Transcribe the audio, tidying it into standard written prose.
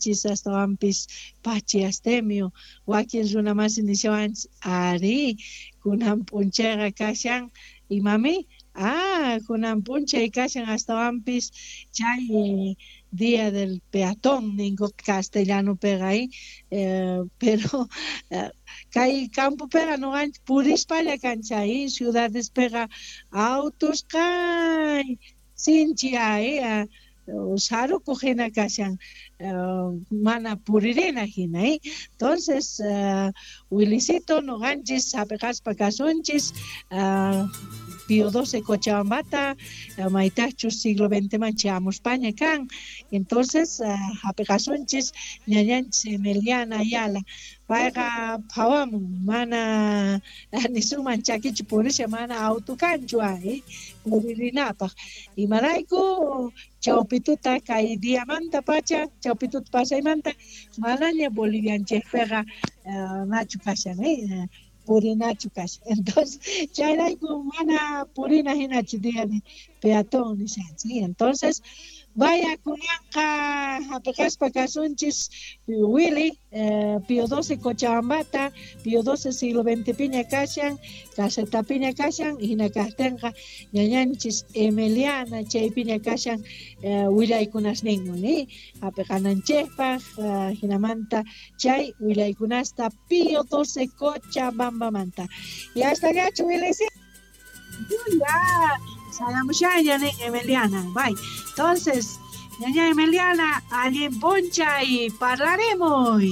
Astawanpis Pachi Astemio wakin runamasi nishawanchis ari kunan p'unchayqa kashan imami kunan p'unchay kashan astawanpis chay día del peatón ninku castellanopiqa pero kay campopiqa nuqanchis purispalla kanchis ciudadespiqa autos kay sinchi sarukuq hina kashan mana puririna hina. Entonces, Wilicito, nuqanchis hapiqaspa kasunchis Pío XII Cochabambata, maytaqchus siglo XX man chayamuspaña kan. Entonces, hapiqasunchis ñañanchis Emiliana Ayala, payqa phawamun, mana nisunman chakichu purisha, mana auto kanchu puririnapaq. Imarayku chawpituta kay diamanta pacha, chawpituta pasaymanta manaña Bolivianchikpiqa nachu kashan, purinachu kashan. Entonces, chayrayku mana purina hinachu día de peatón nishanchis. Entonces, vaya, kunanqa hapiqaspa kasunchis Willy, Pío XII Cochabambata, Pío XII siglo XX piña kashan, casetapiña kashan, hina kaqtinqa ñañanchis Emiliana chaypiña kashan willaykunasninwan hapiqananchikpaq, hinamanta chay willaykunasta Pío XII Cochabambamanta. Y hasta allá, Willy. Ya, sayamushaña nin Emiliana. Bye. Entonces, ñaña Emiliana, allin p'unchay, parlaremos.